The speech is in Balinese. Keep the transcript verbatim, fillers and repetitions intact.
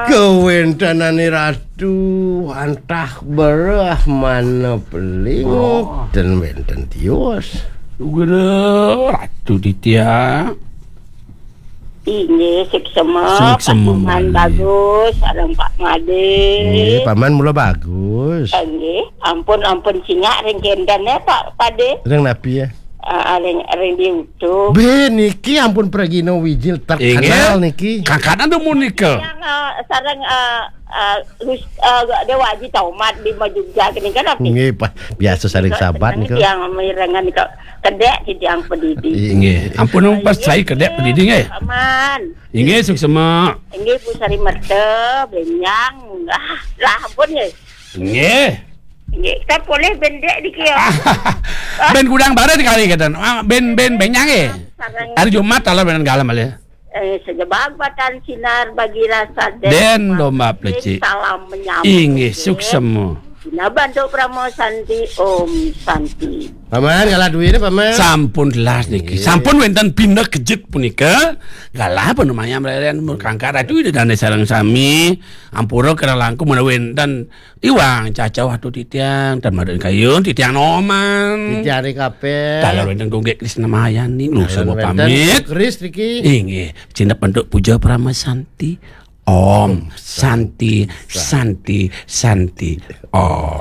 Kawéntenane Ratu wantah bereh mana peling, oh, ten wénten tios. Guru Ratu Ditya. Inggih, suksema, suksema, Pak Paman Made. Bagus, sareng Pak Made. Nggih, Paman mula bagus. Inggih, ampun, ampun cingak ring kénten ya, Pak Pade. Ring napi ya? Ah, ring, ring di YouTube. Bé niki ampun pragina wijil terkenal niki. Inggih. Kakanan dumun nika. Yang, eh, sareng, eh, eh, Lus-, eh, Déwa Aji Tomat di Majugja kene kan apa? Nggih, Pak. Biasa saling sahabat nika. Yang mirengan nika kedék titiang padidi. Nggih. Ampun, pas saya kedék padidi nggih. Aman. Inggih, suksema. Inggih, Bu Sari Merta, bénjang. Ah, lah ampun nggih. Nggih. Nggih, kan polih bén dék niki ya. Bén gudang barat kali kata. Ah, bén, bén bénjang nggih. Sareng hari Jumat taler bén galem malih. Eh, sejebag batan sinar bagi rasa den domba plecik. Salam menyambut. Inggih, suksema. Dina bantuk Parama Santi, Om Santi. Paman, kalah duwine, Paman. Sampun telas niki. Nggih. Sampun wénten pinekejut punika. Galah panumayam reren mun kangkat Ratu Ida Dane sareng sami. Ampura kirang langkung menawi wénten iwang cacah watu titiang, tan madan kayun, titiang noman. Titiang ri kabeh. Taler wénten Gunggik Krisna Mayani, nusa pamit. Keris niki. Inggih, cinep bentuk puja Parama Santi. Om Santi, Santi, Santi. Om.